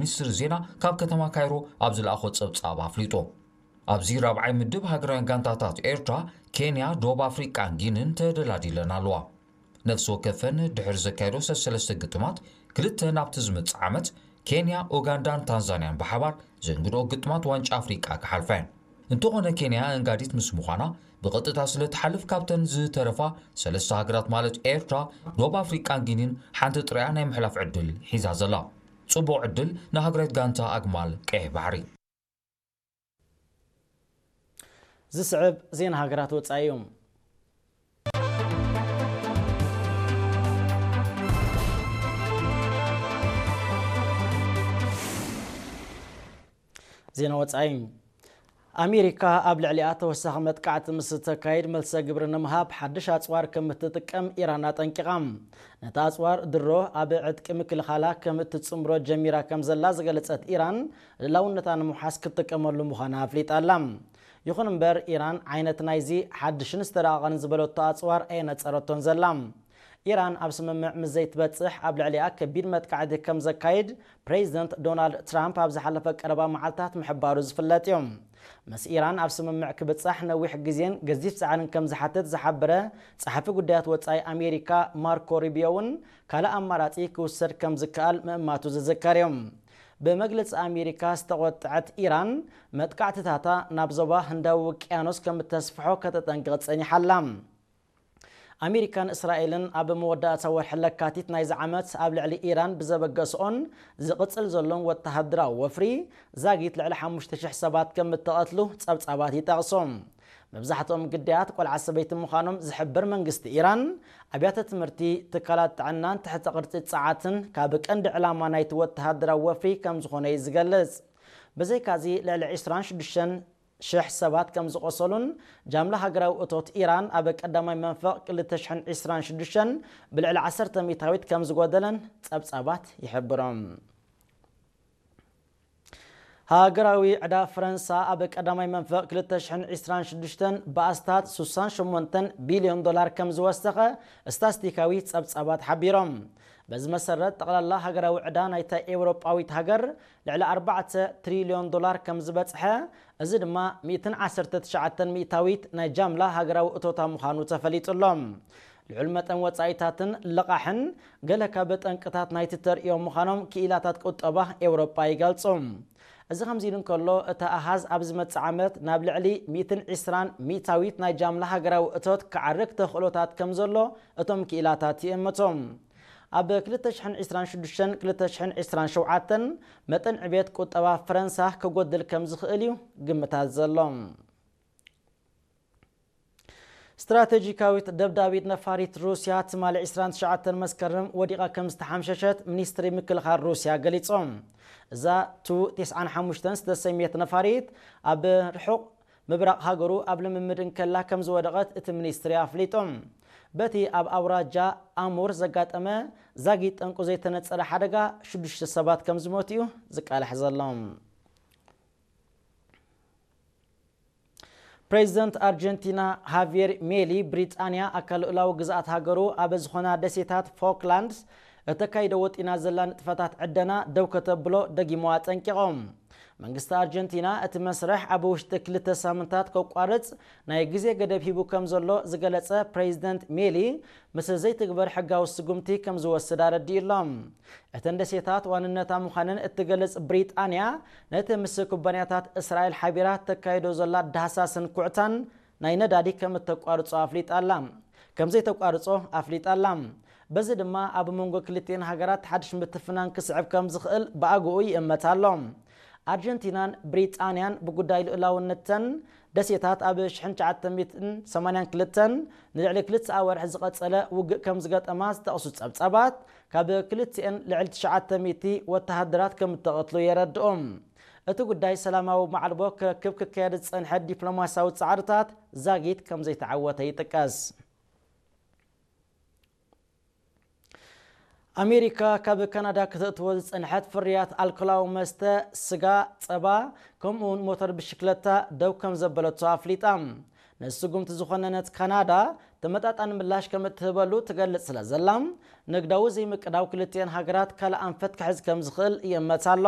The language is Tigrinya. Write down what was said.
ሚኒስትሪ ዜና ካብ ከተማ ካይሮ ኣብ ዝለኣኾ ጸብጻብ ኣፍሊጡ። ኣብዚ ራብዓይ ምድብ ሃገራውያን ጋንታታት ኤርትራ፣ ኬንያ፣ ደቡብ ኣፍሪቃን ጊንን ተደላዲለን ኣለዋ። ነፍሲ ወከፈን ድሕሪ ዘካየዶ ሰለስተ ግጥማት፣ ክልተ ናብቲ ዝመጽእ ዓመት ኬንያ፣ ኡጋንዳን ታንዛንያን ብሓባር ዘንግድኦ ግጥማት ዋንጫ ኣፍሪቃ ክሓልፋ እየን። እንተኾነ ኬንያ ኣንጋዲት ምስ ምዃና፣ ብቐጥታ ስለ ትሓልፍ ካብተን ዝተረፋ ሰለስተ ሃገራት ማለት ኤርትራ፣ ደቡብ ኣፍሪቃን ጊኒን ሓንቲ ጥራያ ናይ ምሕላፍ ዕድል ሒዛ ዘላ። ጽቡቕ ዕድል ንሃገራዊት ጋንታ ኣግማል ቀይሕ ባሕሪ። ዝስዕብ ዜና ሃገራት ወጻኢ እዩ። ዜና ወጻኢ። ኣሜሪካ ኣብ ልዕሊኣ ተወሳኺ መጥቃዕቲ ምስ እተካይድ፣ መልሰ ግብሪ ንምሃብ ሓድሽ ኣጽዋር ከም እትጥቀም ኢራን ኣጠንቂቓ። ነቲ ኣጽዋር ድሮ ኣብ ዕጥቂ ምክልኻላ ከም እትጽምብሮ ጀሚራ ከም ዘላ ዝገለጸት ኢራን፣ ልኡላውነታ ንምውሓስ ክትጥቀመሉ ምዃና ኣፍሊጣ ኣላ። ይኹን እምበር፣ ኢራን ዓይነት ናይዚ ሓድሽን ዝተራቐቐን ዝበለቶ ኣጽዋር ኣየነጸረቶን ዘላ። ኢራን ኣብ ስምምዕ ምስ ዘይትበጽሕ፣ ኣብ ልዕሊኣ ከቢድ መጥቃዕቲ ከም ዘካይድ ፕሬዚደንት ዶናልድ ትራምፕ ኣብ ዝሓለፈ ቀረባ መዓልታት ምሕባሩ ዝፍለጥ እዩ። ምስ ኢራን ኣብ ስምምዕ ክብጻሕ ነዊሕ ግዜን ገዚፍ ጻዕርን ከም ዝሓትት ዝሓበረ ጸሓፊ ጉዳያት ወጻኢ ኣሜሪካ ማርኮ ሩቢዮ እውን፣ ካልእ ኣማራጺ ክውሰድ ከም ዝከኣል ምእማቱ ዝዝከር እዩ። ብመግለጺ ኣሜሪካ ዝተቖጥዐት ኢራን፣ መጥቃዕትታታ ናብ ዞባ ህንዳዊ ውቅያኖስ ከም እተስፍሖ ከተጠንቅቕ ጸኒሓ ኣላ። ኣሜሪካን እስራኤልን ኣብ መወዳእታ ወርሒ ለካቲት ናይዚ ዓመት ኣብ ልዕሊ ኢራን ብዘበገስኦን ዝቕጽል ዘሎን ወተሃደራዊ ወፍሪ፣ ዛጊት ልዕሊ ሓሙሽተ ሽሕ ሰባት ከም እተቐትሉ ጸብጻባት ይጠቕሱ። መብዛሕትኦም ግዳያት ቆልዓ ሰበይቲ ምዃኖም ዝሕብር መንግስቲ ኢራን፣ ኣብያተ ትምህርቲ፣ ትካላት ጥዕናን ትሕተ ቅርጺ ጸዓትን ካብ ቀንዲ ዕላማ ናይቲ ወተሃደራዊ ወፍሪ ከም ዝኾነ እዩ ዝገልጽ። ብዘይካዚ፣ ልዕሊ ዕስራን ሽዱሽተን ሽሕ ሰባት ከም ዝቖሰሉን፣ ጃምላ ሃገራዊ እቶት ኢራን ኣብ ቀዳማይ መንፈቕ ክልተ ሽሕን ዕስራን ሽዱሽተን ብልዕሊ ዓሰርተ ሚእታዊት ከም ዝጎደለን ጸብጻባት ይሕብሩ። ሃገራዊ ዕዳ ፈረንሳ ኣብ ቀዳማይ መንፈቕ ክልተ ሽሕን ዕስራን ሽዱሽተን ብኣስታት ስሳን ሸሞንተን ቢልዮን ዶላር ከም ዝወሰኸ ስታስቲካዊ ጸብጻባት ሓቢሮም። በዚ መሰረት፣ ጠቕላላ ሃገራዊ ዕዳ ናይታ ኤውሮጳዊት ሃገር ልዕሊ ኣርባዕተ ትሪልዮን ዶላር ከም ዝበጽሐ፣ እዚ ድማ ሚእትን ዓሰርተ ትሽዓተን ሚእታዊት ናይ ጃምላ ሃገራዊ እቶታ ምዃኑ ተፈሊጡ ኣሎ። ልዑል መጠን ወጻኢታትን ልቓሕን ገለ ካብ ጠንቅታት ናይቲ ተርእዮ ምዃኖም ክኢላታት ቁጠባ ኤውሮጳ ይገልጹ። እዚ ከምዚ ኢሉ እንከሎ፣ እቲ ኣሃዝ ኣብ ዝመጽእ ዓመት ናብ ልዕሊ ሚእትን ዕስራን ሚእታዊት ናይ ጃምላ ሃገራዊ እቶት ክዓርግ ተኽእሎታት ከም ዘሎ እቶም ክኢላታት ይእምቱ። ኣብ ክልተ ሽሕን ዕስራን ሽዱሽተን ክልተ ሽሕን ዕስራን ሸውዓተን መጠን ዕቤት ቁጠባ ፈረንሳ ክጎድል ከም ዝኽእል እዩ ግምታት ዘሎ። ስትራቴጂካዊት ደብዳቢት ነፋሪት ሩስያ ትማሊ ዕስራን ትሽዓተን መስከረም ወዲቓ ከም ዝተሓምሸሸት ሚኒስትሪ ምክልኻል ሩስያ ገሊጹ። እዛ ቱ ተስዓን ሓሙሽተን ዝተሰምየት ነፋሪት ኣብ ርሑቕ ምብራቕ ሃገሩ ኣብ ልምምድ እንከላ ከም ዝወደቐት እቲ ሚኒስትሪ ኣፍሊጡ። በቲ ኣብ ኣውራጃ ኣሙር ዘጋጠመ ዛጊት ጠንቁ ዘይተነጸረ ሓደጋ ሽዱሽተ ሰባት ከም ዝሞቱ እዩ ዝቃላሕ ዘሎ። ፕሬዚደንት ኣርጀንቲና ሃቪየር ሜሊ፣ ብሪጣንያ ኣካል ልኡላዊ ግዝኣት ሃገሩ ኣብ ዝኾና ደሴታት ፎክላንድስ እተካይዶ ወጢና ዘላ ንጥፈታት ዕደና ደው ከተብሎ ደጊሙ ኣጠንቂቖም። መንግስቲ ኣርጀንቲና እቲ መስርሕ ኣብ ውሽጢ ክልተ ሳምንታት ከቋርጽ ናይ ግዜ ገደብ ሂቡ ከም ዘሎ ዝገለጸ ፕሬዚደንት ሜሊ፣ ምስ ዘይትግበር ሕጋዊ ስጉምቲ ከም ዝወስድ ኣረዲኡ ኣሎ። እተን ደሴታት ዋንነታ ምዃነን እትገልጽ ብሪጣንያ፣ ነቲ ምስ ኩባንያታት እስራኤል ሓቢራ ተካይዶ ዘላ ዳህሳስን ኩዕታን ናይ ነዳዲ ከም እተቋርጾ ኣፍሊጣ ኣላ። ከም ዘይተቋርጾ ኣፍሊጣ ኣላ። በዚ ድማ ኣብ መንጎ ክልቲኤን ሃገራት ሓድሽ ምትፍናን ክስዕብ ከም ዝኽእል ብኣግኡ ይእመት ኣሎ። ኣርጀንቲናን ብሪጣንያን ብጉዳይ ልኡላውነተን ደሴታት ኣብ ሽሕን ትሽዓተ ሚእትን ሰማንያን ክልተን ንልዕሊ ክልተ ኣዋርሕ ዝቐጸለ ውግእ ከም ዝገጠማ ዝጠቕሱ ጸብጻባት፣ ካብ ክልቲኤን ልዕሊ ትሽዓተ ሚእቲ ወተሃደራት ከም እተቐትሉ የረድኡ። እቲ ጉዳይ ሰላማዊ ማዕልቦ ክረክብ ክካየድ ዝጸንሐ ዲፕሎማስያዊ ጻዕርታት ዛጊት ከም ዘይተዓወተ ይጥቀስ። ኣሜሪካ ካብ ካናዳ ክተእትዎ ዝጸንሐት ፍርያት ኣልኮላዊ መስተ፣ ስጋ፣ ጸባ፣ ከምኡውን ሞተር ብሽክለታ ደው ከም ዘበለቶ ኣፍሊጣ። ነዚ ስጉምቲ ዝኾነነት ካናዳ፣ ተመጣጣኒ ምላሽ ከም እትህበሉ ትገልጽ ስለ ዘላ፣ ንግዳዊ ዘይምቅዳው ክልቲኤን ሃገራት ካልእ ኣንፈት ክሕዝ ከም ዝኽእል ይእመት ኣሎ።